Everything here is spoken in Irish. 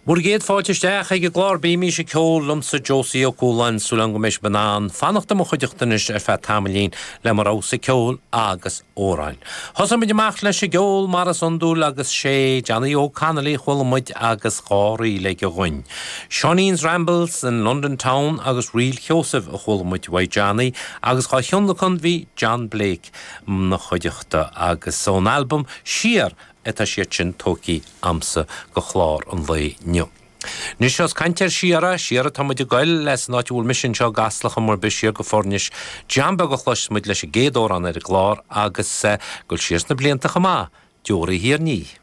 Bhur gcéad fáilte isteach ag an gclár Bímís ag Ceol liomsa Josie Ó Cualáin, súil agam go mbeidh sibh in ann fanacht i mo chuideachta anois ar feadh tamaillín le mo rogha-sa ceoil agus amhráin. Thosaigh muid amach leis an gceol mar is iondúil agus sé Johnny Óg Connolly a chuala muid agus dha ríl aige dhuinn. Seáinín's Rambles in London Town agus Ríl Sheosaimh a chuala muid uaidh Johnny agus dhá thionlacan bhí John Blake 'na chuideachta agus ón albam Siar atá siad sin tógtha a'msa go chlár an lae inniu. Anois ós caint ar siar, siar atá muid ag goil as an áit a bhfuil mise anseo i gCasla chuma ar bith siar go Foirnis, John Beag a chloisfeas muid leis an gcéad amhrán ar an gclár agus ag goil siar sna blianta chomh maith, Deoraí Thír an Fhia.